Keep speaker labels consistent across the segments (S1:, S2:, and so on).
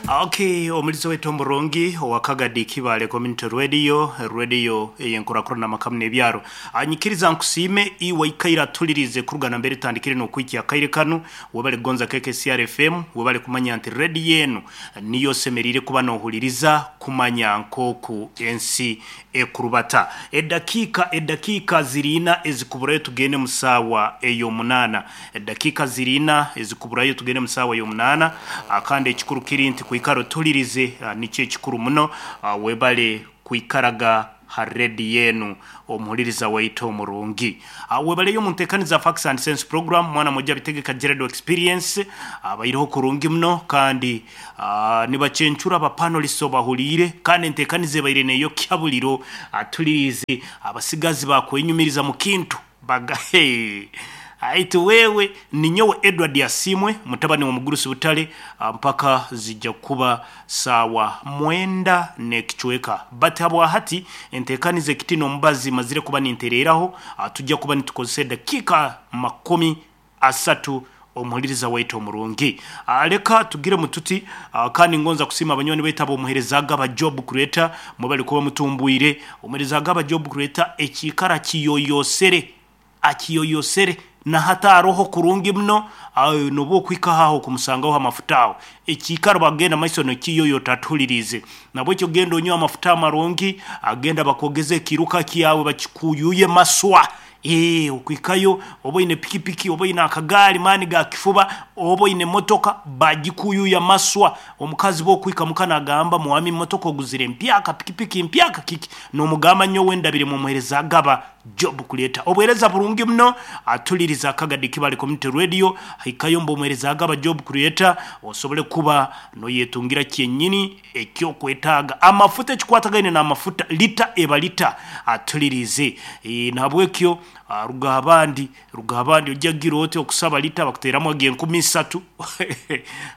S1: Okay, omulizi waitu omurungi owa Kagadi Kibale Community Radio, radio ey'enkurakurana amakamu n'ebyaro. Anyikiriza nkusiime iwe ikaire atulirize kuruga nambere etandikire n'okuhikya akaire kanu, webale kugonza KKCR FM, webale kumanya nti radio enu niyo osemeriire kuba nohuliriza kumanya nk'oku ensi ekurubata. Edakiika edakiika ziri ina ezikuburayo tugende mu saawa ey'omunaana. Edakiika ziri ina ezikuburayo tugende mu saawa y'omunaana. Kandi ekikuru kiri nti kwikara otulirize nikyo ekikuru muno. Webale kwikaraga ha rediyo enu omuhuliriza waitu omurungi. Webaleyo omu nteekaniza Facts and Sense Program, mwana mwojo abitegeka Gerald Experience abaireho kurungi muno kandi nibacencura aba panelists obahuliire kandi enteekaniza ebaire neyokya buliro atuliriize abasigazi bakwenyumiriza mu kintu baga hee Aitu wewe ninyowe Edward Asiimwe mutabani w'omugurusi Butare mpaka zija kuba saawa mwenda n'ekicweka but habwahati enteekaniza ekitine omubazi mazire kuba nintereeraho tujja kuba nitukozesa edakiika 30 omuhuliriza waitu omurungi. Leka tugiremu tuti kandi ngonza kusiima abanywani baitu ab'omuheereza Agaba Job Creator mwebale kuba mutumbwire. Omuheereza Agaba Job Creator ekiikaro akiyoyosere, akiyoyosere na hati aroho kurungi muno nobu okuhikaho aho okumusangaho amafuta aho. Ekiikaro bagenda maiso nokiyoyota atuhuliriize. Nabwekyo genda onywe amafuta amarungi, genda bakwogeze ekiiruka kyawe bakikuyuye maswa. Eeh okuhikayo oba oine pikipiki oba oine akagaari maani ga kifuba oba oine motoka bagikuyuya maswa. Omukazi bwokuhika muka nagamba mwami motoka oguzire mpyaka, pikipiki mpyaka kiki? Nomugamba nyowe ndabire mwomuhereza Agaba Job Kuleta. Obuhereza burungi muno atuliriza Kagadi Kibale Community Radio hikayo mbu omuhereza Agaba Job Creator osobole kuba noyetungira kyenyini ekyokwetaaga. Amafuta ekikwatagaine n'amafuta lita eba lita atulirize. Nahabwekyo ruga abandi ruga abandi ojja gira oti okusaba lita bakuteramu ag'enkumi isatu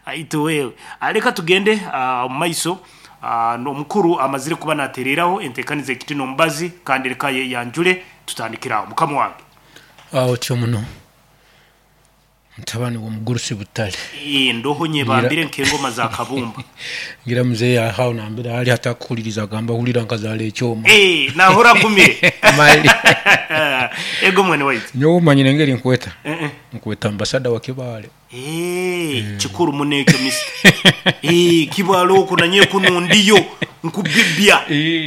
S1: aitu wewe. Leka tugende omu maiso omukuru amazire kuba natereraho entekaniza ekitine omubazi kandi leka ayeyanjule tutandikire aho. Mukama wange.
S2: Otyo muno mutabani w'omugurusi Butare.
S1: Ndoho nyebambire nk'engoma za kabumba.
S2: Ngira muzeeyi aho nambere ari atakuhuririza agamba hurira nkazaara ekyoma.
S1: Nahurra agumire.
S2: Mali.
S1: Ego mwene waitu.
S2: Nyowe omanyire engeri nkweta? Nkweta ambasada wa Kibaale.
S1: Kikuru muno ekyo mister. Kibaale okwo nanye kunu ndiyo nkubibya.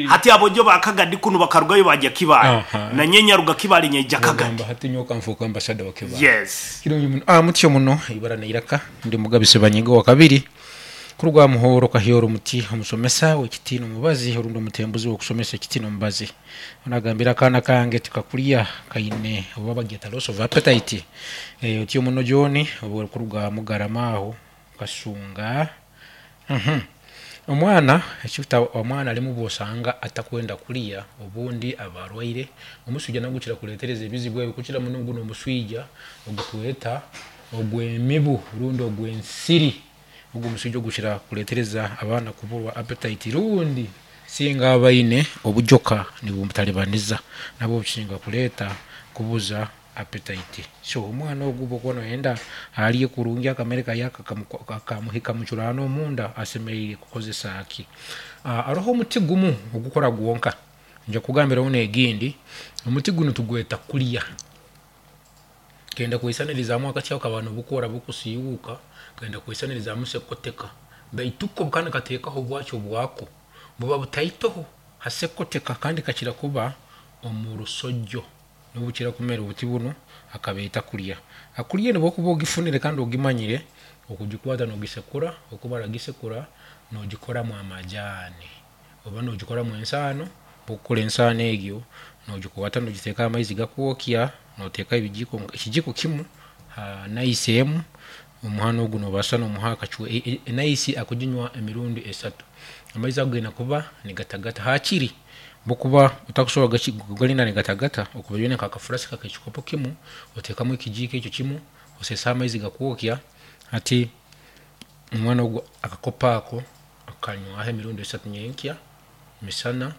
S1: Hati abojo ba Kagadi kunu bakarugayo baja Kibaale. Nanye nyaruga Kibaale nyaija Kagadi.
S2: Ogamba hati nyowe kanfuuke ambasada wa Kibaale.
S1: Yes.
S2: Kirungi muno. Mutyo muno eibara neiraka ndi Mugabi Sebanyinga owa kabiri kuruga aha Muhooro Kahyoro Muti omusomesa w'ekitiina omubazi orundi omutembuzi w'okusomesa ekitiina omubazi. Nagambira akaana kange tikakurya kaine oba bagyeta loss of appetite. Otyo muno John kuruga Mugarama aho Kasunga. Omwana ekita omwana arimu bwosanga atakwenda kurya obundi aba arwaire. Omuswija nagwo gukira kuretereza ebizibu ebi kukira muno guno omuswija ogutweta ogw'emibu rundi ogw'ensiri. Ogu omuswija ogukira kuretereza abaana kuburwa appetite rundi singa abaine obujoka nibumutaribaniza nabwo bukisinga kureeta kubuza appetite. So omwana ogu bwokuba noyenda arye kurungi akamere kaye kamuhika mucurano omunda asemeriire kukozesa ki? Haroho omuti gumu ogukora gwonka nja kukugambiraho n'egindi. Omuti gunu tugweta kulya. Kenda kweisanirizamu akati ako kaba nibukora bukusiiwuka kenda kweisanirizamu sekoteka baitu ko kandi kateekaho obwakyo bwako buba butaitoho ha sekoteka kandi kakira kuba omu rusojo nibukira kumera obuti bunu akabeeta kulya. Akulya enu bwokuba ogifunire kandi ogimanyire okugikwata nogisekura okumara gisekura nogikoramu amajaani oba nogikoramu ensaano. Bwokukora ensaano egyo nogikwata nogiteeka aha maizi gakwokya noteekaho ebijiko ekijiko kimu ha naisi emu omuhana ogu nobaasa nomuha enaisi akuginywa emirundi esatu. Amaizi ago gaine kuba nigatagata hakiri bwokuba otakusobora kugarinda nigatagata okuba oine nka akafurasika ak'ekikopo kimu oteekamu ekijiiko ekyo kimu oseesa amaizi gakwokya hati omwana ogu akakopo ako akanywaho emirundi esatu nyenkya, misana,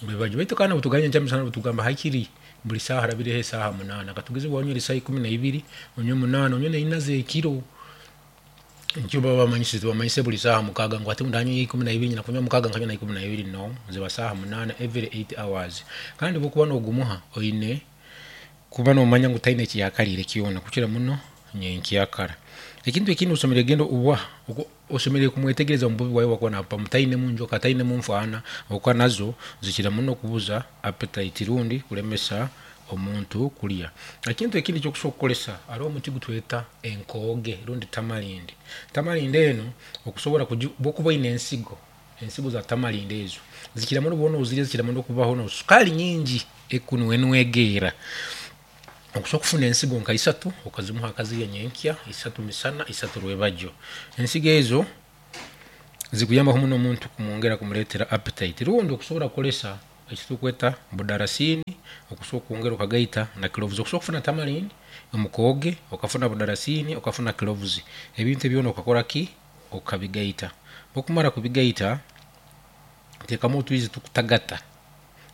S2: rwebagyo. Baitu kandi obutugamba nyenkya misana tugamba hakiri buri saaha harabireho esaaha munaana. Katugeze waanywire saaha ikumi na ibiri onywe munaana onywe naina z'ekiro. Nikyo baba bamanyisize tibamanyise buri saaha mukaaga ngu hati ndanywa 12 nyina kunywa mukaaga nkanywa na 12 no ziba saaha 8 every 8 hours. Kandi bwokuba nogumuha oine kuba nomanya ngu taine ekiyakariire kyona kukira muno nyenkyakara. Ekintu ekindi osemeriire kugenda oba osemeriire kumwetegereza omu bubi bwawe bwakuba nabupamu tainemu njoka tainemu nfaana habwokuba nazo zikira muno kubuza appetite rundi kulemesa omuntu kulya. Ekintu ekindi ekyokusobora kukozesa haroho omuti gutweta enkooge rundi tamarind. Tamarind enu okusobora bwokuba oine ensigo, ensigo za tamarind ezo zikira muno bwoba nozirya zikira muno kubaho sukaali nyingi ekunwenwegeera. Okusobora kufuna ensigo nka isatu okazimuha akazirya nyenkya, isatu misana, isatu rwebagyo. Ensigo ezo zikuyambaho muno omuntu kumwongera kumureetera appetite rundi okusobora kukozesa ekitukweta budarasini okusobora kwongera okagaita na cloves. Okusobora kufuna tamarind, omukooge, okafuna budarasini, okafuna cloves, ebintu ebi byona okakoraki? Okabigaita. Bwokumara kubigaita, oteekamu otwizi tukutagata,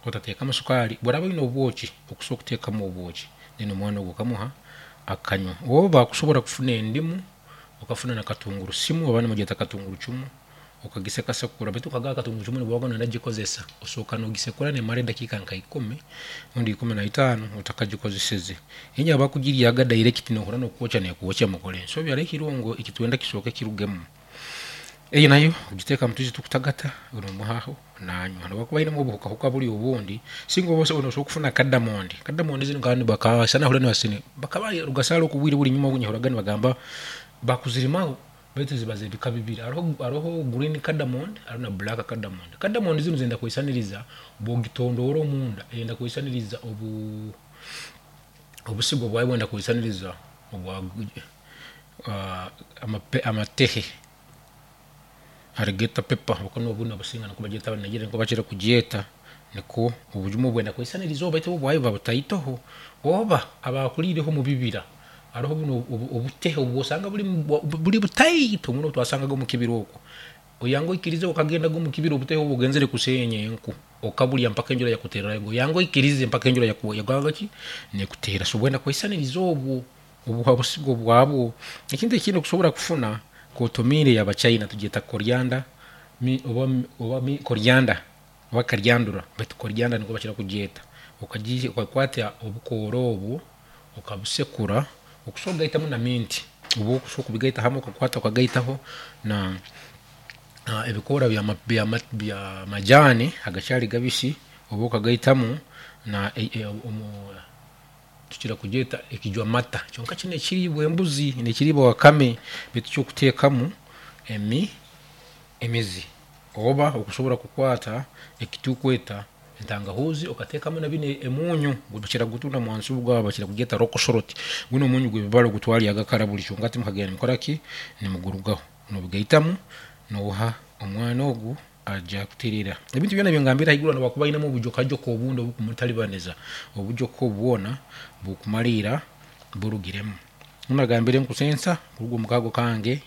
S2: otateekamu sukaali. Bworaba oine obwoki, okusobora kuteekamu obwoki then omwana ogu okamuha akanywa. Oba kusobora kufuna endimu, okafuna na katungurusimu abandi nibagyeta katungurucumu, okagisekasekura baitu nka katungurucumu bwoba noyenda kugikozesa, osooka nogisekura nemara edakiika nka ikumi rundi 15 otakagikozeseze. Enye abakugiryaga direct nohurra nokukwokya nekwokya mukora ensobi hariho ekirungo ekitwenda kisooke kirugemu. Eyo nayo ogiteeka omu twizi tukutagata nomuhaho nanywa. Nobu akuba ainemu obuhukahuka buri obundi, singa oba nosobora kufuna kadamondi. Kadamondi zinu bakaba rugasaara oku obwire buri enyuma nyehurraga nibagamba bakuzirimaho baitu ziba z'ebika bibiri. Haroho green cardamom haroho na black cardamom. Cardamom zinu zenda kwesaniriza bwogitondoora omunda eyenda kwesaniriza obusigo bwayo bwenda kwesaniriza obwa amatehe alligator pepper obu nobusinga nikwo bagyeta Abanigeria nikwo bakira kugyeta nikwo obujumu bwenda kwesaniriza baitu obwayo buba butaitoho. Oba abakuriireho omu bibira haroho bunu obutehe obwosanga buri butaito muno obutwasangaga omu kibira oku. Oyanga oikirize okagendaga omu kibira obutehe obu ogenzere kuseenya enku okaburya mpaka enjura yakutererayo. Oyanga oikirize mpaka enjura yakoraki nekuteera. So bwenda kwesaniriza obwo obusigo bwabwo. Ekintu ekindi okusobora kufuna kotomire y'Abachina tugyeta coriander oba coriander oba karyandura baitu coriander nikwo bakira kugyeta. Okakwata obukoora obu okabusekura okusobora kugaitamu na mint obu okusobora kubigaita hamwe okakwata okagaitaho na ebikoora bya majani agakyari gabisi oba okagaitamu na tukira kugyeta ekijwamata kyonka kinu ekiriibwa embuzi nekiriibwa wakame baitu kyokuteekamu emizi. Oba okusobora kukwata ekitukweta entangahuzi okateekamu na binu emunyu bakira kugutunda mwansi gwabo bakira kugyeta local salt. Gunu omunyu gw'ebibara ogutwaryaga kara buri kyonka hati mukagenda nimukoraki? Nimugurugaho. Nobigaitamu noha omwana ogu aja kuterera. Ebintu byona ebingambire haiguru nobu akuba ainemu obujokajoka obundi obukumutaribaniza, obujoka obu bwona bukumariira burugiremu. Nagambire nkusensa kuruga omu kago kange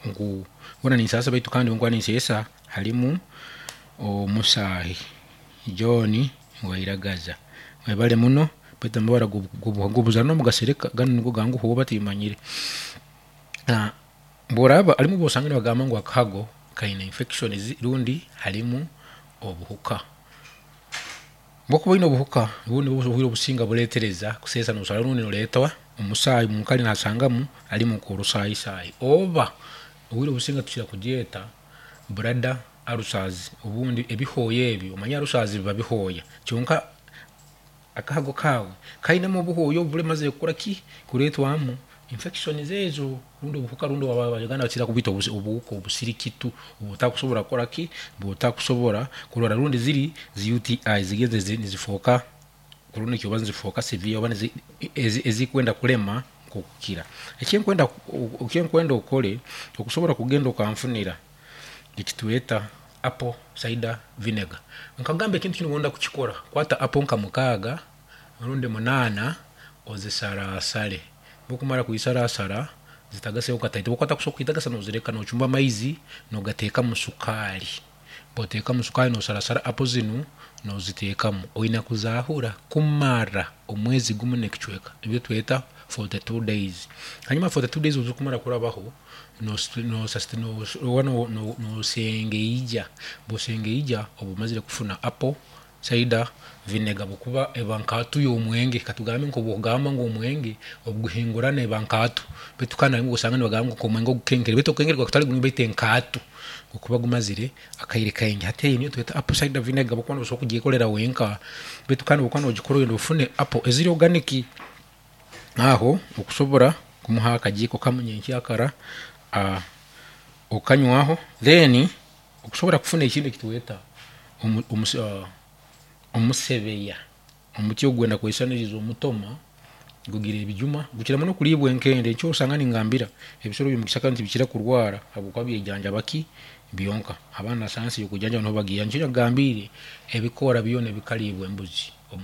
S2: ngu hoona ninsaasa baitu kandi obunkuba ninseesa harimu omusaahi John Wairagaza. Webare muno baitu amabara g'obuzaare nomugasereka ganu nigo ganguha oba timanyire. Bworaba harimu obwosanga nibagamba ngu akahago kaine infections rundi harimu obuhuka. Bwokuba oine obuhuka obundi obwire obusinga bureetereza kuseesa nosanga rundi noreetwa omusaayi munkari nasangamu harimu nk'orusaahisaahi oba obwire obusinga tukira kugyeta bladder ulcers obundi ebihooya ebi omanyire ulcers biba bihooya kyonka akahago kaawe kainemu obuhooya obu buremazire kukoraki? Kureetwamu infections ezo rundi obuhuka rundi Abanyarwanda bakira kubwita obuhuka obusirikitu obutakusobora kukoraki? Obutakusobora kurora rundi ziri zi UTI zigenzere nizifooka chronic oba nizifooka severe oba ezikwenda kulema nk'okukira. Ekinkwenda okore okusobora kugenda okanfunira ekitweta apple cider vinegar. Nkagamba ekintu kinu bwonda kukikora, kwata apple nka 6 rundi 8 ozisarasare. Bwokumara kuzisarasara zitagaseho kataito, bwokuba otakusobora kuzitagasa nozireka nochumba amaizi nogateekamu sukaali. Bwoteekamu sukaali nosarasara apple zinu noziteekamu. Oine kuzahura kumara omwezi gumu n'ekicweka nibyo tweta. 42 days. Hanyuma 42 days obu zikumara kurabaho, nosengeija. Bwosengeija oba omazire kufuna apple cider vinegar, habwokuba eba nkaatu y'omwenge. Katugambe nk'obwokugamba ngu omwenge obuguhingurana eba nkaatu, baitu kandi harimu obwosanga nibagamba ngu omwenge ogukenkere, baitu ogukenkere guba gutali gurungi, baitu enkaatu gukuba gumazire akaire kaingi. Hati eyo niyo tweta apple cider vinegar habwokuba nosobola kugyekorera wenka, baitu kandi obwokuba nogikora oyenda ofune apple eziri organic, aho okusobora kumuha akajiiko kamu nyenkyakara okanywaho. Then okusobora kufuna ekindi ekitweta omusebeya, omuti ogu gwenda kweisaniriza omutoma, gugira ebijuma, gukira muno kuriibwa enkende. Nikyo osanga ningambira ebisoro byomukisaka nti bikira kurwara habwokuba byejanjaba ki byonka. Abaana sayansi y'okwejanjaba niho bagiiha. Nikyo nakugambiire ebikoora byona ebikariibwa embuzi.